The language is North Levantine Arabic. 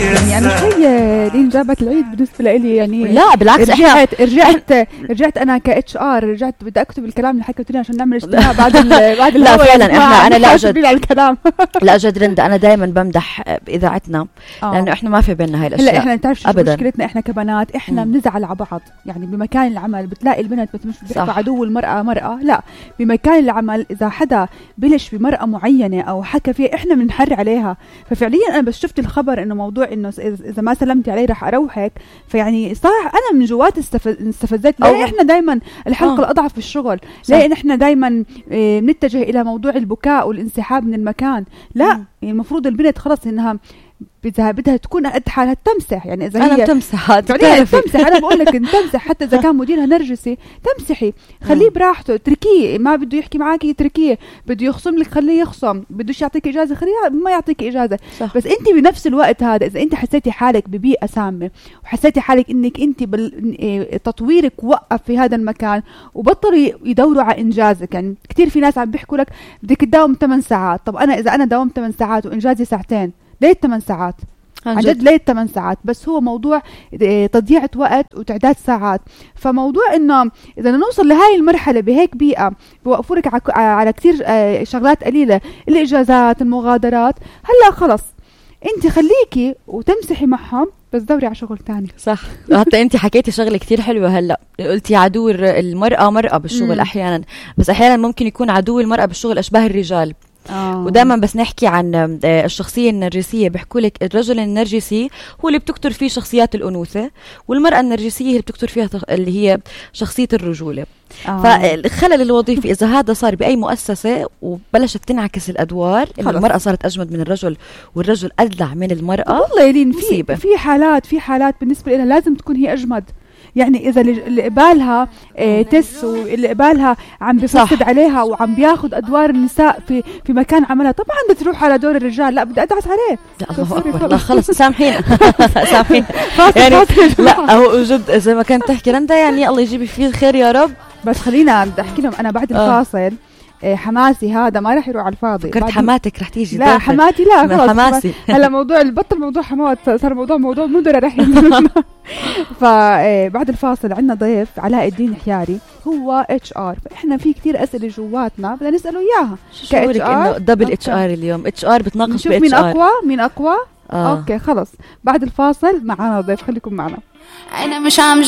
يعني أنا شوي لين جابت العيد بالنسبة لي يعني. لا بالعكس رجعت أنا كاتش ار رجعت بدي أكتب الكلام اللي حكيتوني عشان نعمل اجتماع بعد لا فعلا أنا لا جد الكلام لا جد رندا أنا دائما بمدح إذاعتنا لأنه إحنا ما في بيننا هاي الأشياء. هلا إحنا تعرف شو مشكلتنا إحنا كبنات إحنا بنزعل على بعض يعني بمكان العمل بتلاقي البنت مش بيحكوا عدو المرأة مرأة لا بمكان العمل إذا حدا بلش بمرأة معينة أو حكى فيها إحنا بنحر عليها. ففعليا أنا بس شفت الخبر إنه موضوع إنه إذا ما سلمتي عليه رح أروحك فيعني صح أنا من جوات استفزت. ليه إحنا دايما الحلقة الأضعف في الشغل؟ ليه إحنا دايما بنتجه إلى موضوع البكاء والانسحاب من المكان؟ لا يعني المفروض البنت خلص إنها بدها تكون قد حالها تمسح. يعني إذا أنا بتمسح تمسح أنا بقول لك تمسح حتى إذا كان مديرها نرجسي تمسحي خليه براحته تركيه ما بده يحكي معاكي تركيه بده يخصم لك خليه يخصم بدوش يعطيك إجازة خليه ما يعطيك إجازة صح. بس أنت بنفس الوقت هذا إذا أنت حسيتي حالك ببيئة سامة وحسيتي حالك إنك أنت تطويرك وقف في هذا المكان وبطلوا يدوروا على إنجازك. يعني كتير في ناس عم بيحكوا لك بدك تداوم 8 ساعات. طب أنا إذا أنا داوم 8 ساعات وإنجازي ساعتين ليه 8 ساعات؟ عن جد ليه 8 ساعات؟ بس هو موضوع تضييع وقت وتعداد ساعات. فموضوع إنه إذا نوصل لهاي المرحلة بهيك بيئة بوقفوا لك على كتير شغلات قليلة الإجازات المغادرات هلا خلص أنت خليكي وتمسحي معهم بس دوري على شغل تاني. صح. حتى أنت حكيتي شغلة كتير حلوة هلا قلتي عدو المرأة مرأة بالشغل أحيانا بس أحيانا ممكن يكون عدو المرأة بالشغل أشباه الرجال. ودائما بس نحكي عن الشخصية النرجسية بيحكوا لك الرجل النرجسي هو اللي بتكتر فيه شخصيات الأنوثة والمرأة النرجسية اللي بتكتر فيها اللي هي شخصية الرجولة. فالخلل الوظيفي إذا هذا صار بأي مؤسسة وبلشت تنعكس الأدوار إن المرأة صارت أجمد من الرجل والرجل أدلع من المرأة والله يلين في حالات بالنسبة لها لازم تكون هي أجمد. يعني إذا اللي قبالها تس واللي قبالها عم بفسد عليها وعم بياخد أدوار النساء في مكان عملها طبعا بتروح على دور الرجال. لا بدي أدعس عليه. لا الله أكبر لا خلص سامحينا سامحينا يعني لا هو جد إذا ما كانت تحكي رندا يعني الله يجيب فيه الخير يا رب. بس خلينا بدي أحكي لهم أنا بعد الفاصل حماسي هذا ما راح يروح على الفاضي. فكرت حماتك رح تيجي. لا حماتي لا خلاص حماسي هلا موضوع البطل موضوع حمات صار موضوع مدرة رح فبعد الفاصل عندنا ضيف علاء الدين حياري هو HR. فإحنا في كتير أسئلة جواتنا بدنا نسأله إياها. شو إنه دبل HR اليوم HR بتناقش ب HR مين أقوى أوكي خلص بعد الفاصل معنا ضيف خليكم معنا. أنا مش عم